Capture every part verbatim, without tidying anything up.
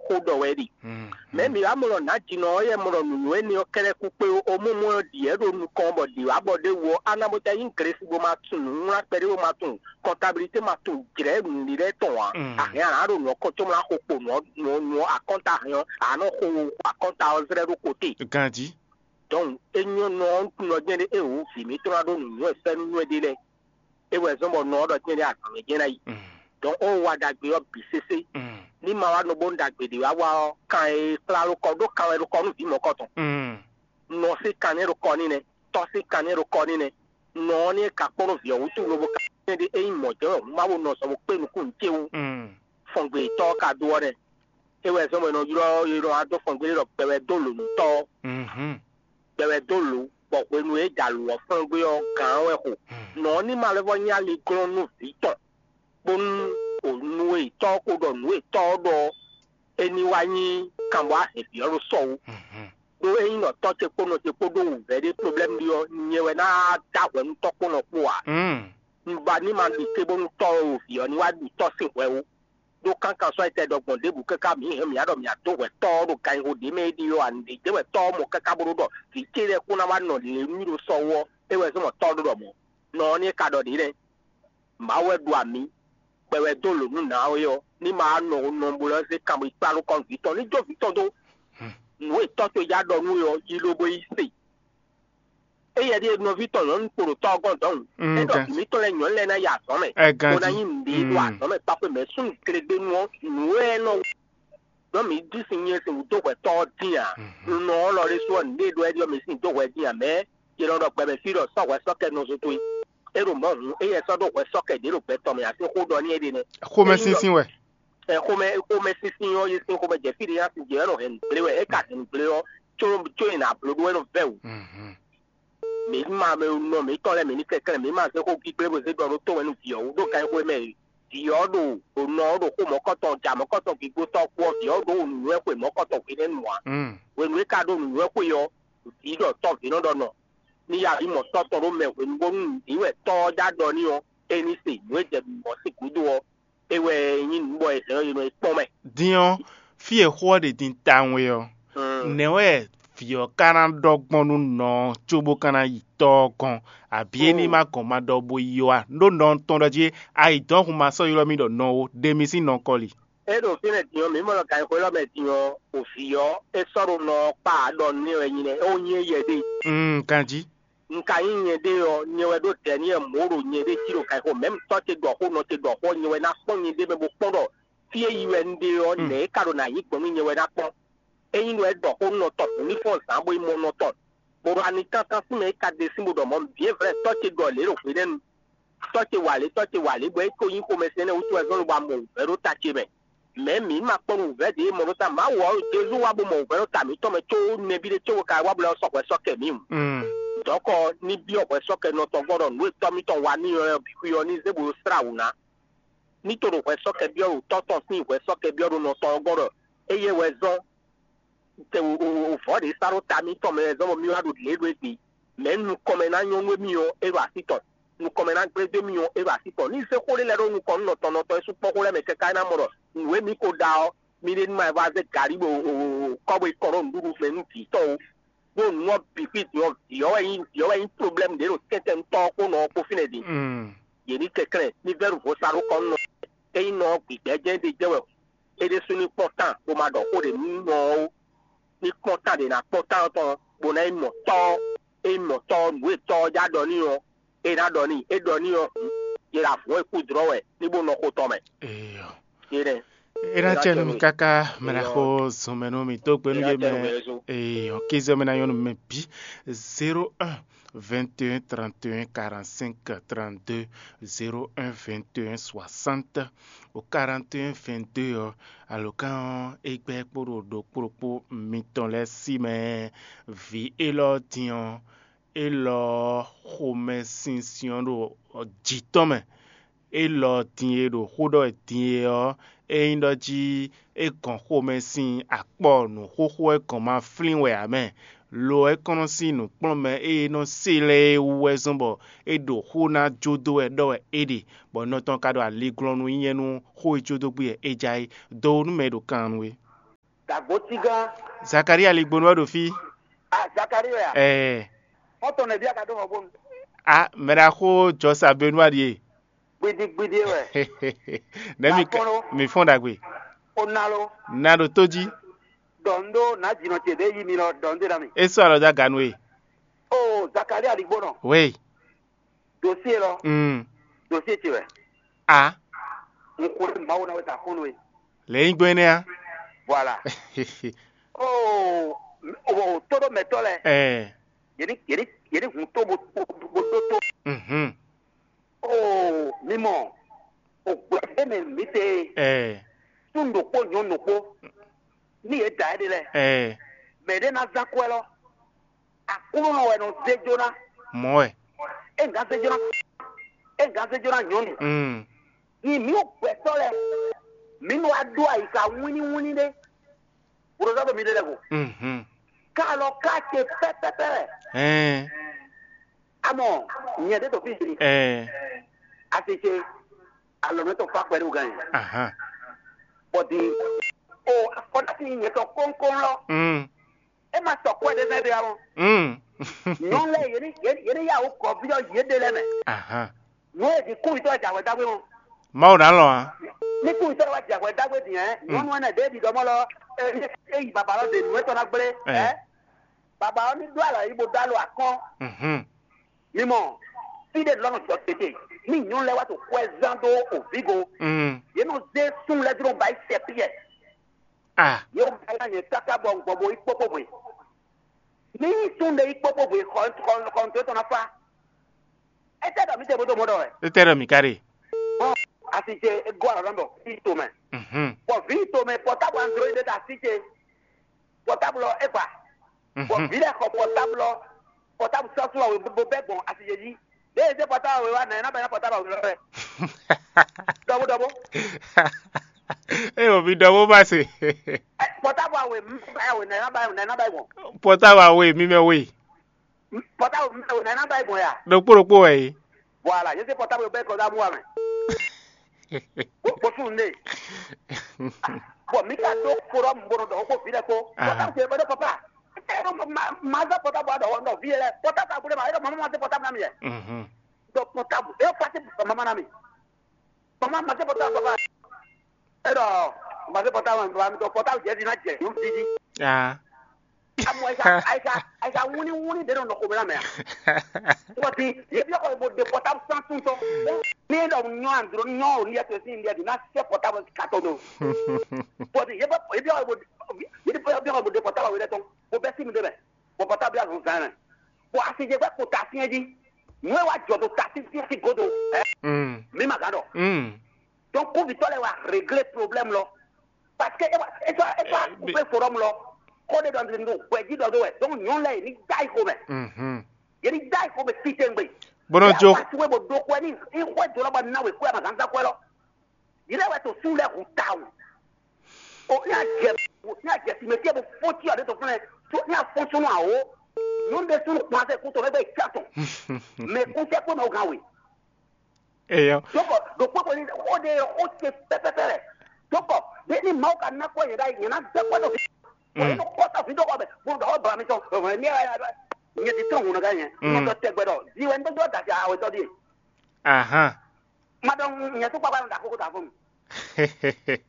Xó ɖɔ wɛ ɖi. Mɛ mi wá mɔ ɖɔ nǎjínɔ ɔ́ yɛ mɔ ɖɔ nǔnywɛ́ énɛ́ ɔ́ kɛ́ɖɛ́ kú kpé ó, mɔmɔ ɔ́ ɖi yɛ ɖo nukɔn bɔ ɖě wá bɔ ɖé wú ɔ́, á ná bó tɛ́ nyí Glesi bó ma tunwun nǔwlán kpɛɖé bó ma tunwun kɔntabilité ma tunwun jlɛ̌ nǔɖé lɛ́ɛ tɔn ǎ. Ahɛn a nǎ ɖo nǔ ɔ́ kɔn có mlá xo kpo nǔ ɔ́ nǔ ɔ́ nǔ ɔ́ akɔ́nta ahɛn ɔ́, a nǎ nɔ xo akɔ́nta ɔ́ zlɛ́ ɖó kote. Ganjí. Donc é nyɔ́ nɔ ɔ́ nɔ jɛ́n ɖé é wǔ vǐ mǐtɔn ná ɖó nǔnywɛ́ fɛ́nú nywɛ́ ɖé lɛ́ɛ. É wɛ zɔ́n bɔ nɔ ɔ́ ɖɔ jɛ́n ɖé azɔ̌ mɛ jɛ́n ná yi. Donc ó wa ɖagbe ɔ́ bǐ sésé. Ní ma wá nɔ bónú ɖagbe ɖě wá wá ɔ́, kan e kplá ɖó kɔ ɖó kan wɛ ɖo kɔ nú vǐ mɔ̌kɔ tɔn. Nɔ sín kan nɛ́ ɖo kɔ n'i nɛ́, tɔ́ sín kan nɛ́ ɖo kɔ n'i nɛ́. Nɔ ɔ́ ní é ka kpɔ́n nú vǐ ɔ́ wútu lobo ka kɛ́n ɖé é nyí mɔ̌ jɛ́n wɛ hǔn má bo nɔ sɔ bo kpé nukúnnú ce wú. Fɔngbe tɔ́ ɔ́ ka dó ɔ́ nɛ́. É wɛ zɔ́n bɔ è nɔ ylɔ́ è nɔ wá dó fɔngbe ɖɔ gbɛwɛ dó lǒ nú tɔ́ ɔ́. Gbɛwɛ dó lǒ, bɔ hwenu e é da lǒ ɔ́ flɔ́n gbé ɔ́, gǎn ɔ́ wɛ xo. Nɔ ɔ́ ní ma lɛ́ vɔ́ nyí aliglɔ́n nú vǐ tɔn, bónú nǔ e tɔ́ ɔ́ ko ɖɔ nǔ e tɔ́ ɔ́ ɖɔ ɔ́, é ní wá nyí kanbɔ ahɛ̌nví ɔ́ ɖo sɔ wú. Ɖó ényí nɔ tɔ́ ce kpó nɔ ce kpó ɖó wǔvɛ́ ɖé problɛ́mu ɖi ɔ́, nyɛ wɛ ná dó ahwɛ nú tɔ́ kpó nɔ kpó ǎ. Un ba ní ma ɖi te bónú tɔ́ e wǒ vǐ ɔ́ ní wá ɖu tɔ́ sín hwɛ ó. Ɖó kankan sɔ́ etɛ́ ɖɔ gbɔn ɖěbǔ káká mǐ hɛn mǐ ɖɔ mǐ dó hwɛ tɔ́ ɔ́ ɖo ganxixo ɖě mɛ é ɖi ɔ́, a nǔɖé jɛ wɛ tɔ́ ɔ́ mɔ káká bó ɖó ɖɔ vǐ ce lɛ́ɛ kún ná wá nɔ lě nú ɖo sɔ wú ɔ́, é wɛ zɔ́n bɔ tɔ́ ɔ́ ɖó ɖɔ mɔ̌. Nɔ ɔ́ ní é ka ɖɔ ɖě lɛ́ɛ. Mawu wɛ ɖu amǐ, kpɛ wɛ dó lǒ nú nǎ ɔ́ é ɔ́, ní ma wá nɔ nɔ bó lɛ́ zé kanbɔ yi kplá nukɔn vǐ tɔn ní jó vǐ tɔn dó. Nǔ e tɔ́ towe ja ɖɔ nú we ɔ́, yi lobo yi se. Éyɛ́ ɖíe nɔví tɔn nyɔ̌nu kpo ɖo tɔ́ ɔ́ gɔ́n dɔ̌n. É ɖɔ vǐ mǐtɔn lɛ́ɛ nyɔ̌nu lɛ́ɛ ná yi azɔ̌ mɛ, bó ná nyí nǔɖé ɖo azɔ̌ mɛ kpákpé mɛ súnnu glegbénu ɔ́, nǔ e nɔ ɖɔ mǐ ɖi sin nyɛ sin wǔ dó hwɛ tɔ́ ɔ́ dín ǎ. Nunɔ ɔ́ lɔ ɖésú ɔ́, nǔɖé ɖɔ é ɖɔ mǐ sin dó hwɛ dín ǎ, mɛ̌? Yě nɔ ɖɔ gbɛmɛ fí ɖɔ sɔ́ hwɛ sɔ́ kɛ nɔzo towe. É ɖo mɔ̌ hǔn, éyɛ́ sɔ́ ɖó hwɛ sɔ́ kɛ ɖě ɖo gbɛ tɔn mɛ ǎ sín xó ɖɔ n'i é ɖe nɛ́. Xomɛsinsin wɛ. Ɛ xomɛ xomɛ sinsin ɔ́ yě sín xomɛ jɛ fí ɖé nya sin jɛ wɛ nɔ hɛn nǔgblé wɛ, é ka hɛn nǔgblé ɔ́, có có è nǎ bló ɖó wɛ nɔ vɛ́ wǔ. Mǐ ma mɛ nɔ mǐtɔn lɛ́ɛ mǐ ní kɛnklɛ́n, mǐ ma zé xó gbígbé bó zé ɖɔ ɖó tó wɛ nú vǐ ɔ́ wú ɖó ganxixo e mɛ vǐ ɔ́ ɖo ɖo nɔ ɔ́ ɖo xó mɔ̌kɔtɔn ja mɔ̌kɔtɔn gbígbó tɔ́ kpó ɔ́, vǐ ɔ́ ɖó nǔnywɛ́ xwe mɔ̌kɔtɔn hwenɛ́nu ǎ. Hwenu e ka ɖó nǔnywɛ́ xwe ɔ́, vǐ ɖɔ tɔ́ vǐ nɔ ɖɔ nɔ ní ya vǐ mɔ tɔ́ tɔn ɖó mɛ hwenu bónú nǔɖé wɛ tɔ́ ɔ́ já ɖɔ n'i ɔ́, é ní se nǔ e jɛ mɔ̌ sín gúdo ɔ́, é wɛ nyí nǔ bɔ è hɛn ɔ́ è nɔ yi kpɔ́n mɛ. Din ɔ́, fí e xó ɔ́ ɖe din tawun é ɔ́, nɛ̌ wɛ vǐ ɔ́ ka ná ɖɔ gbɔn nú nɔ ɔ́ cóbó ka ná yi tɔ́ ɔ́ gɔ́n, abǐ é ní ma gɔn ma ɖɔ bó yi ɔ́ a? Nú nɔ ɔ́ tɔn ɖɔ jí ayǐ dɔn hun ma sɔ́ ylɔ́ mì ɖɔ nɔ ó, ɖe mi sín nɔ kɔli. É ɖo fínɛ́ din ɔ́, mǐ mɔ ɖɔ ganxixo élɔ́ mɛ din ɔ́, o vǐ ɔ́, é sɔ́ ɖo nɔ ɔ́ kpá ɖɔ nú ɛ wɛ nyi nɛ́, é wú nyí éyɛ́ ɖe. Mm, ganjí. Un ka nyí nyɛɖée ɔ́, nyɛ wɛ ɖó dɛ̌ n'i wɛ mɔ̌ ɖo nyɛɖée jí ɖo ganxixo mɛ̌ tɔ́ ce ɖɔ xó nɔ ce ɖɔ xó nyɛ wɛ ná kpɔ́n nyɛɖée mɛ bó kpɔ́n ɖɔ fí e yi wɛ un ɖe ɔ́, nɛ̌ é ka ɖo nǎ nyí gbɔn nú nyɛ wɛ ná kpɔ́n. Ényí ɖɔ é ɖɔ xó nɔ tɔn bǔ ní fɔ́n zǎn bó yi mɔ nɔ tɔn, bó ɖo ani tántán sín mɛ é ka ɖe sín bó ɖɔ mɔ̌, vǐ e vlɛ́ tɔ́ ce ɖɔ lě ɖo hwenɛ́nu. Tɔ́ ce wa lě, tɔ́ ce wa lě, bɔ é ko nyí xomɛsin énɛ́ wútu wɛ zɔ́n lobo wa mɔ wǔvɛ́ ɖó ta ce mɛ. Mɛ̌ mǐ ma kpɔ́n nú wǔvɛ́ ɖě e mɔ ɖó ta Mawu ɔ́, Jezu wá bó mɔ wǔvɛ́ ɖó ta mǐtɔn mɛ có nɛbí ɖé cóbó ka wá bó lɛ́ sɔ́ hwɛ sɔ́ kɛ mǐ wǔ. Dɔ̌kɔ ní byɔ́ hwɛ sɔ́ kɛ nɔ tɔn gbɔn ɖɔ nǔ e tɔ́ mǐtɔn wa n'i ɔ́ bǐ xwí ɔ́ ní zé bó slá wǔ ná. Ní to ɖo hwɛ sɔ́ kɛ byɔ́ ɖo tɔ́ tɔn sín hwɛ sɔ́ kɛ byɔ́ ɖo nɔ tɔn ɔ́ gɔ́n ɖɔ éyɛ́ wɛ zɔ́n te o o o vɔ̌ ɖě sá ɖó ta mǐtɔn mɛ wɛ zɔ́n bɔ mì wá ɖo lě ɖo égbé. Mɛ̌ nukɔn mɛ ná nyɔ́ nú émí ɔ́, é ɖo así tɔn. Nukɔn mɛ ná gblé dó émí ɔ́, é ɖo así tɔn. Ní zé xó ɖé lɛ́ɛ ɖó nukɔn nú nɔtɔn nɔtɔn é sú kpɔ́n xó lɛ́ɛ mɛ káká é ná mɔ ɖɔ nǔ e mǐ ko ɖa ɔ́, mí ɖé ní ma yi vá zé gǎrí bó kɔ́ bó yi kɔn ɖó nǔɖuɖu mɛ nú vǐ tɔn ó. Ɖó nǔ ɔ́ bǐ xwí din ɔ́, vǐ ɔ́ wɛ nyí vǐ ɔ́ wɛ nyí problɛ́mu ɖě ɖo tɛ́ntɛn tɔ́ ɔ́ kpó nɔ ɔ́ kpó fínɛ́ din. Yě ní kɛnklɛ́n ní vɛ́ ɖo vo sa ɖó kɔn nú nɔ. Ényí nɔ ɔ́ gbigbɛ́ jɛ́n ɖe jɛ́n wɛ é ɖésú ní kpɔ́n tán bó ma ɖɔ xó ɖě nú nɔ ɔ́ ó. Ní kpɔ́n tán ɖě ná kpɔ́n tán ɔ́ tɔn bó ná yi mɔ tɔ́ ɔ́. É yi mɔ tɔ́ ɔ́, nǔ e tɔ́ ɔ́ já ɖɔ n'i ɔ́, é ná ɖɔ n'i. É ɖɔ n'i ɔ́ hǔn, yě ɖo avǔn e kú dlɔ́ wɛ ní bó nɔ xo tɔn mɛ. Eyɔ. É nɛ́. É ná cɛ nú mi káká mɛ ná xo zɔn mɛ nú mi tó gbe nú yé mɛ. Eyɔ, kézɔ mɛ ná nyɔ́ nú mɛ bǐ. Zéro un, vingt et un, trente et un, quarante-cinq, trente-deux, zéro un, vingt et un, soixante, au quarante et un, vingt-deux ɔ́, alǒkan ɔ́ é gbɛ́ kpó ɖo ɖokpó ɖokpó mitɔn lɛ́ɛ sí mɛ. Vǐ élɔ́ din ɔ́, élɔ́ xomɛsinsin ɔ́ ɖo jǐ tɔn mɛ. Élɔ́ din e ɖo xó ɖɔ wɛ din e ɔ́, é nyí ɖɔ jí é gɔn xomɛ sín akpɔ́ nǔxóxó wɛ gɔn ma flín wɛ ǎ mɛ. Lo ɔ́, é kɔn nɔ sín nǔkplɔ́nmɛ e nɔ se lɛ́ɛ é wú wɛ zɔ́n bɔ é ɖo xó ná jó dó wɛ ɖɔ wɛ é ɖe, bɔ nɔ tɔn ka ɖo aliglɔ́nú nyɛ nú xó e jó dó gbé wɛ é ja é. Do nú mɛ e ɖo kan nú é. Dǎgbócígán. Zakalía Ligbonu wɛ ɖo fí. A Zakalía wɛ a? Ɛɛ. Xɔ́ntɔn nɛbí a ka ɖó hɔn bónu? A mɛɖaxó Jɔsa Benua ɖíe. Gbidigbidi wɛ. Nɛ̌ mi ka Akɔ́nɔ. Mi fɔ́n ɖagbe? O ná lo. Na ɖo tó jí. Dɔn ɖó nǎ jǐnɔ ce ɖě yí mi lɔ dɔn ɖé ná mi. É sɔ́ alɔ dó aga nú we. O Zakalía Ligbonɔ. Wéyi. Dosie lɔ. Mm. Dosie ce wɛ. A. N xwlé Mawu ná wɛ ta xɔ́n nú we. Lě nyí gbɔn énɛ́ á. Voilà. O o tóɖó mɛtɔ́ lɛ. Ɛɛ. Yě ní yě ní yě ní hun tó bó bó bó dó tó. Mhm. O mi mɔ o gbɛ̌ mɛ mǐ se. Ɛɛ. Sún ɖokpó nyɔ̌nu ɖokpó. Ní yě da é ɖe lɛ. Ɛɛ. Mɛ ɖé ná zán kwɛ́ lɔ. Aklúnɔ wɛ nɔ zé jó ná. Mɔ̌ wɛ. É ŋgá zé jó ná. É ŋgá zé jó ná nyɔ̌nu. Mm. Nyi mǐ gbɛtɔ́ lɛ́ɛ, mǐ nɔ wá ɖó ayika wínníwínní ɖé, bó ɖo zɔ́ ɖo mǐ ɖe lɛ́ɛ go. Mhm. Ká alɔ ká ce pɛ́pɛ́pɛ́ wɛ. Ɛɛ. Amɔ nyɛ ɖě ɖo fí din. Ɛɛ. Asi ce alɔmɛ tɔn fa kpɛɖé wúgán yɛ. Ahan. Bɔ din o afɔdási nyɛ tɔn kɔ́nkɔ́n lɔ. Mm. É ma sɔ kwɛ ɖé zɛ́n ɖé ǎ mɔ. Mm. Nyɔ̌nu lɛ́ɛ yě ní yě ní yá wǔ kɔ̌ví ɔ́ yěɖée lɛ́ɛ mɛ. Ahan. Nǔ e ɖi kúvitɔ́ e jɛ ahwɛ dó agbé mɔ. Mawu ná lɔn ǎ. Ní kúvitɔ́ e wá jɛ ahwɛ dó agbé din ɛ, nyɔ̌nu ɛnɛ ɖě ɖi ɖɔmɔ lɔ, é yi baba lɔ ɖe nǔ etɔ́ ná gblé. Ɛ. Ɛ, baba ɔ́ ní ɖó alɔ yí bó dó alɔ akɔ́n. Mhm. Mi mɔ, fí ɖé lɔ́nà jɔ tete, ní nyɔ̌nu lɛ́ɛ wá to kwɛ zán dó òvígo. Mm. Yě nɔ zé sún lɛ́ɛ dó ba yi sɛ Piyɛ. Ah. Yě wɔ ba nyɛ káká bɔ un gbɔ bo yi kpókpó hwe. Ní sún ɖe yi kpókpó hwe xɔ xɔ xɔ nto tɔn ná fa. Étɛ́ ɖɔ mǐ te bó dó mɔ ɖɔ wɛ? Étɛ́ ɖɔ mǐ ka ɖe? Bɔn asi ce é gɔ́ alɔ nɔ ɖɔ vǐ tomɛ. Mhm. Bɔ vǐ tomɛ pɔtábl android ɖé ta asi ce. Pɔtábl ɔ́ é gba. Bɔ Mhm. Vǐ lɛ́ɛ xɔ pɔtábl ɔ́, pɔtábl sɔ́ sún ɔ́ bó bɛ́ gbɔn asi ce jí. Ɖěe zé pɔtábl wěwá nɛ̌ ná bɛ́ ná pɔtábl wěwá wɛ? Ɖɔbó ɖɔbó. Eye wòvi ɖɔ bó ba se. Pɔtábl awe mɛ awe nɛ̌ ná bɛ́ nɛ̌ ná bɛ́ gbɔn? Pɔtábl awe mi mɛ we. Pɔtábl mɛ awe nɛ̌ ná bɛ́ gbɔn ya? Ɖokpó ɖokpó wɛ yě. Voilà, yě zé pɔtábl bɛ́ kɔ dó amú wa mɛ. Bó fún un ɖe. Bɔn mi ka ɖó forum bó nɔ ɖɔ xó vi lɛ kpó. Pɔtábl ce bɛ ɖó papa. Ma zɔ pɔtábl aɖɔ wɔ nɔ vi lɛ. Pɔtábl aɖɔ ma ɖɔ mama ma zé pɔtábl na mi yɛ. Mhm. Ɖɔ pɔtábl e pase mama na mi. Mama ma zé pɔtábl papa. E ɖɔ ma zé pɔtábl ma mi ɖɔ pɔtábl jɛ vi na jɛ yǒ vi jí. Ah. Amɔ ayika ayika ayika wuni wuni ɖe nɔ nɔ xomɛ na mɛ a. Wati ye bi kɔ bo de pɔtábl san tun tɔn. Ni ɖɔ nyɔ andro nyɔ o ni yɛ to sin ni yɛ di na sɛ pɔtábl katɔ do. Wati ye bɛ ye bi kɔ bo ye bi kɔ bo de pɔtábl wele tɔn. Bo bɛ si mi de mɛ. Bo pɔtábl ya zɔn zan mɛ. Bo asi je gbɛ ko ta fiɛ ji. Nue wa jɔ do ta si si si godo. Ɛ Mm. Mi ma ga dɔ. Mm. Donc kúvitɔ lɛ wa régler problème lɔ. Parce que e wa e sɔ e sɔ Eh, akúfɛ forum lɔ. Kó de dɔ ndo gbɛji dɔ do wɛ. Donc nyɔ lɛ ni da yi ko mɛ. Mhm. Ye ni da yi ko mɛ titengbe. Bó nɔ jó. Wa suwe bo do kwɛ ni i xwɛ do lɔ ba na we kwɛ ma ganza kwɛ lɔ. Yi lɛ wɛ to su lɛ hu ta o. O ní a jɛ ní a jɛ si mɛ fie bo fó tí ɔ de to fúnɛ. Tó ní a fɔn sunu awo. Nyɔnu de sunu kpɔn sɛ kú to mɛ bɛ tsa tɔn. Mɛ kú sɛ kpɔn mɛ o gan we. Eyɔ. Dɔkɔ ɖo kpɔkpɔ ni o de o ce pɛpɛpɛ lɛ. Dɔkɔ de ni Mawu ka na kɔ yɛ ɖa yɛ na gbɛ kɔ dɔ fi. Wɔ yɛ kɔ ta fi dɔkɔ bɛ bo dɔ bla mi tɔn. Nyɛ ti tɔn ŋun ka yɛ. Nɔ dɔ tɛgbɛ dɔ. Di wɛ n dɔ dɔ da fi awetɔ di. Ahan. Ma dɔ nyɛ tó kpakpa nɔ da koko ta fún mi.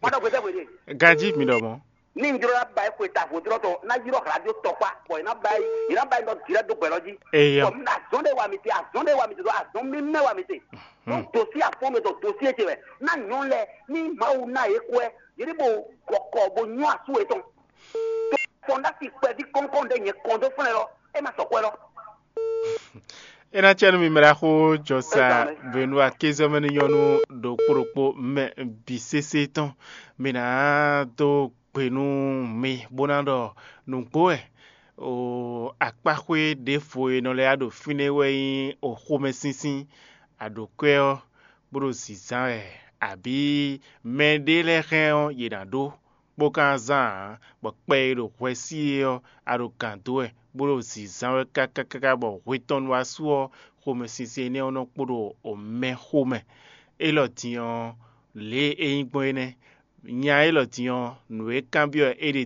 Ma dɔ gbɛtɛ wele. Ganji mi dɔ mɔ. Ní n jló ná ba yi xwe ta vodrɔ́tɔ ná ylɔ́ hlaɖó tɔkpá, bɔ è nǎ ba yi è nǎ ba yi nɔ direct dó gbɛ lɔ jí. Eyɔ. Bɔ un ɖo azɔn ɖé wa mi te, azɔn ɖé wa mi te, ɖo azɔn mímɛ́ wa mi te. Ɖó dosi afɔ́n mi ɖo dosi e ce wɛ. Ná nyɔ̌nu lɛ́ɛ ní Mawu ná yě kwɛ́, yě ní bo gɔkɔ bo nyɔ́ asú yětɔn. Tó fɔn ɖó asi kpɛví kɔ́nkɔ́n ɖé nyɛ kɔn dó flɛ́n lɔ, é ma sɔ kwɛ́ lɔ. É ná cɛ́ nú mi mɛ ɖaxó jɔsa Benoit kézɔmɛ ní nyɔ́ nú ɖokpó ɖokpó mɛ bǐ sésé tɔn. Mi ná dó gbe nú mi bó ná ɖɔ nǔgbó wɛ. O akpáxwé ɖěvo e nɔ lɛ́ wá ɖo fínɛ́ wɛ nyí o xomɛsínsín. A ɖǒ kwɛ́ ɔ́, bó ɖo zǐnzán wɛ, abǐ mɛɖé lɛ́ɛ hɛn ɔ́, yě ná ɖó, bó ka ná zán ǎ, bɔ kpɛ e ɖo hwɛ sí é ɔ́, a ɖo gǎn dó wɛ, bó ɖo zǐnzán wɛ káká káká bɔ hwe tɔn nu wá su ɔ́, xomɛsinsɛn énɛ́ ɔ́ nɔ kpo ɖo mɛ xomɛ. Élɔ́ din ɔ́, lě e é nyí gbɔn é nɛ́. Nya élɔ́ din ɔ́, nǔ e kanbyɔ́ é ɖe